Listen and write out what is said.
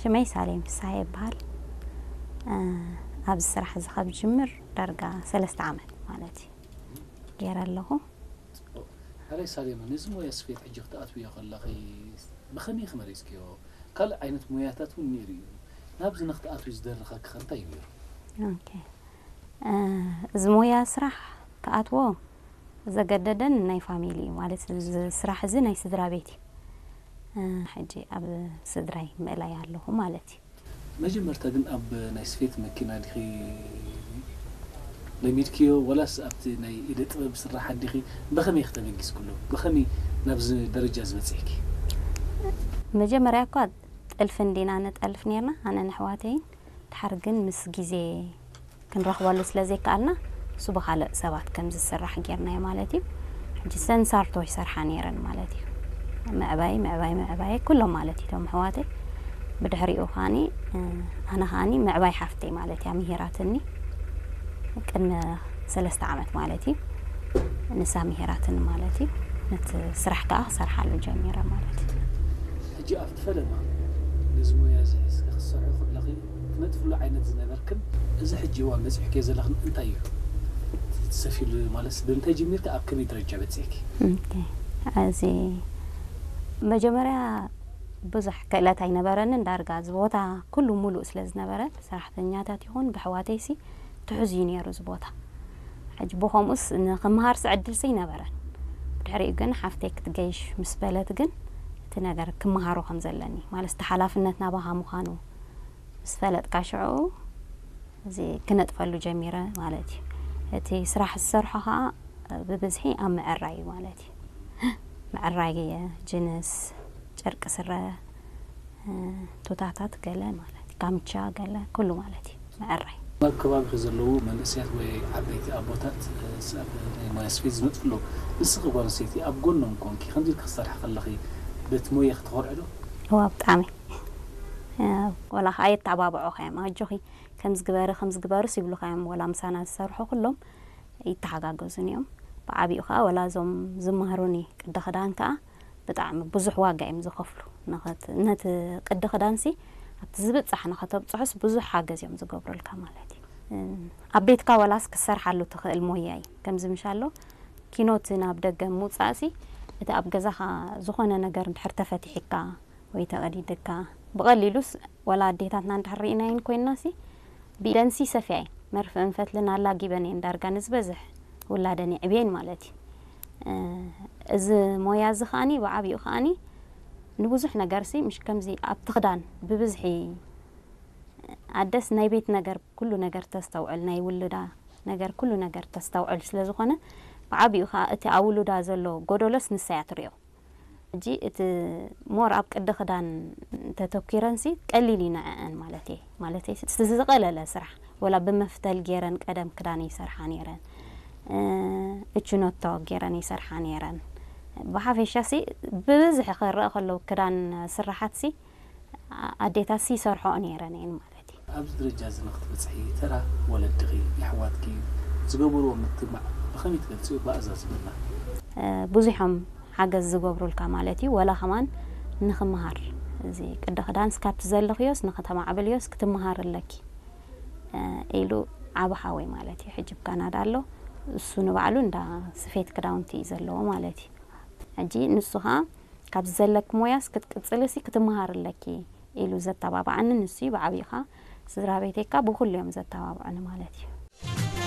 ሽመይ ሳሌም ፍስሃ ይበሃል። ኣብዚ ስራሕ እዚ ካብ ጅምር ዳርጋ ሰለስተ ዓመት ማለት እዩ ገይረ ኣለኹ። ሕራይ ሳሌማ፣ ነዚ ሞያ ስፌት ሕጂ ክትኣትውዮ ከለኺ ብኸመይ ኢኺ መሪጽክዮ? ካልእ ዓይነት ሞያታት እውን ነይሩ እዩ። ናብዚ ንክትኣትዊ ዝደረኸኪ ከ እንታይ እዩ ነይሩ? እዚ ሞያ ስራሕ ክኣትዎ ዘገደደን ናይ ፋሚሊ እዩ፣ ማለት እዚ ስራሕ እዚ ናይ ስድራ ቤት እዩ። ሕጂ ኣብ ስድራይ ምእላይ ኣለኹ ማለት እዩ። መጀመርታ ግን ኣብ ናይ ስፌት መኪና ዲኺ ለሚድክዮ፣ ወላስ ኣብቲ ናይ ኢደ ጥበብ ስራሓት ዲኺ? ብኸመይ ኢኺ ተበጊስክሉ? ብኸመይ ናብዚ ደረጃ ዝበጽሕኪ? መጀመርያ እኳ ጥልፊ እንዲና ንጠልፍ ነርና፣ ኣነን ኣሕዋተይን። ድሓር ግን ምስ ግዜ ክንረኽበሉ ስለ ዘይከኣልና፣ እሱ ብኻልእ ሰባት ከም ዝስራሕ ጌርናዮ ማለት እዩ። ሕጂ ሰንሳርቶ ይሰርሓ ነይረን ማለት እዩ። ምዕባይ ምዕባይ ምዕባይ ኩሎም ማለት እዩ፣ እቶም ኣሕዋተይ። ብድሕሪኡ ከዓኒ ኣነ ከዓኒ ምዕባይ ሓፍተይ ማለት እያ ምሂራትኒ፣ ቅድሚ ሰለስተ ዓመት ማለት እዩ። ንሳ ምሂራትኒ ማለት እዩ። ነቲ ስራሕ ከዓ ክሰርሓሉ ጀሚረ ማለት እዩ። ሕጂ ኣብቲ ፈለማ ነዚ ሞያ እዚ ሒዝኪ ክትሰርሒ ከለኺ ትነጥፍሉ ዓይነት ዝነበርክን እዚ ሕጂ እዋን በፂሕክዮ ዘለኽን እንታይ እዩ? ትሰፊሉ ማለት ብምንታይ ጀሚርኪ ኣብ ከመይ ደረጃ በፂሕኪ? እዚ መጀመርያ ብዙሕ ክእለት ኣይነበረንን። ዳርጋ እዚ ቦታ ኩሉ ሙሉእ ስለ ዝነበረ ብሰራሕተኛታት ይኹን ብሕዋተይሲ ትሑዝ እዩ ነይሩ እዚ ቦታ። ሕጂ ብኸምኡስ ንክምሃርሲ ዕድልሲ ኣይነበረን። ብድሕሪኡ ግን ሓፍተይ ክትገይሽ ምስ በለት ግን እቲ ነገር ክምሃሮ ከም ዘለኒ ማለት እቲ ሓላፍነት ናባኻ ምዃኑ ምስ ፈለጥካ ሽዑ እዚ ክነጥፈሉ ጀሚረ ማለት እዩ። እቲ ስራሕ ዝሰርሖ ከዓ ብብዝሒ ኣብ ምዕራይ እዩ ማለት እዩ። ምዕራይ ጅንስ፣ ጨርቂ ስረ፣ ቱታታት ገለ ማለት እዩ። ካምቻ ገለ ኩሉ ማለት እዩ። ምዕራይ። ኣብ ከባቢኺ ዘለዉ መንእሰያት ወይ ዓበይቲ ኣቦታት ኣብ ናይ ሞያ ስፌት ዝመፁ ኣለዉ። ንስኺ ጓል ኣንስተይቲ ኣብ ጎኖም ኮንኪ ከምዚ ኢልኪ ክትሰርሒ ከለኺ በቲ ሞያኺ ትኾርዒ ዶ? እዋ ብጣዕሚ። ወላ ከዓ የተባብዑኻ እዮም። ኣጆኺ ከምዚ ግበሪ ከምዚ ግበሩስ ይብሉኻ እዮም። ወላ ምሳና ዝሰርሑ ኩሎም ይተሓጋገዙን እዮም። ብዓቢኡ ከዓ ወላ እዞም ዝመሃሩኒ ቅዲ ክዳን ከዓ ብጣዕሚ ብዙሕ ዋጋ እዮም ዝኸፍሉ። ነቲ ቅዲ ክዳንሲ ኣብቲ ዝብጻሕ ንኸተብጽሑስ ብዙሕ ሓገዝ እዮም ዝገብሩልካ ማለት እዩ። ኣብ ቤትካ ወላስ ክሰርሓሉ ትኽእል ሞያ እዩ። ከምዚ ምሻሎ ኪኖት ናብ ደገ ምውጻእሲ እቲ ኣብ ገዛኻ ዝኾነ ነገር እንድሕር ተፈቲሒካ ወይ ተቐዲድካ ብቐሊሉስ ወላ ኣዴታትና እንድሕር ርኢናየን ኮይንናሲ ብኢደንሲ ሰፍያየን መርፍእን ፈትልን ኣላጊበን እየን ዳርጋ ንዝበዝሕ ውላደን የዕብየን ማለት እዩ። እዚ ሞያ እዚ ከዓኒ ብዓቢኡ ከዓኒ ንብዙሕ ነገርሲ ምሽ ከምዚ ኣብቲ ክዳን ብብዝሒ ኣደስ ናይ ቤት ነገር ኩሉ ነገር ተስተውዕል ናይ ውልዳ ነገር ኩሉ ነገር ተስተውዕል ስለ ዝኾነ ብዓቢኡ ከዓ እቲ ኣብ ውሉዳ ዘሎ ጎደሎስ ንሳ እያ ትሪኦ። ሕጂ እቲ ሞር ኣብ ቅዲ ክዳን ተተኪረንሲ ቀሊል እዩ ንዐአን ማለት እየ። ማለት ዝቐለለ ስራሕ ወላ ብመፍተል ገይረን ቀደም ክዳን ይሰርሓ ነይረን። እችኖቶ ገይረን ይሰርሓ ነይረን። ብሓፈሻሲ ብብዝሒ ክረአ ከለዉ ክዳን ስራሓትሲ ኣዴታትሲ ይሰርሖኦ ነይረን እየን ማለት እዩ። ኣብዚ ደረጃ እዚ ንክትበፅሒ ተራ ወለድኺ፣ የሕዋትኪ ዝገበርዎ ምትብባዕ ብኸመይ ትገልፅዮ? ብኣዛዝመና። ብዙሖም ሓገዝ ዝገብሩልካ ማለት እዩ። ወላ ከማን ንክምሃር እዚ ቅዲ ክዳንስ ካብቲ ዘለኽዮስ ንክተማዕብልዮስ ክትምሃር ኣለኪ ኢሉ ዓቢ ሓወይ ማለት እዩ። ሕጂ ኣብ ካናዳ ኣሎ። እሱ ንባዕሉ እንዳ ስፌት ክዳውንቲ እዩ ዘለዎ ማለት እዩ። ሕጂ ንሱ ኸዓ ካብዚ ዘለኪ ሞያስ ክትቅጽልሲ ክትምሃሪ ኣለኪ ኢሉ ዘተባብዓኒ ንሱ እዩ። ብዓቢኡ ኸዓ ስድራ ቤተይ ከኣ ብኹሉ እዮም ዘተባብዑኒ ማለት እዩ።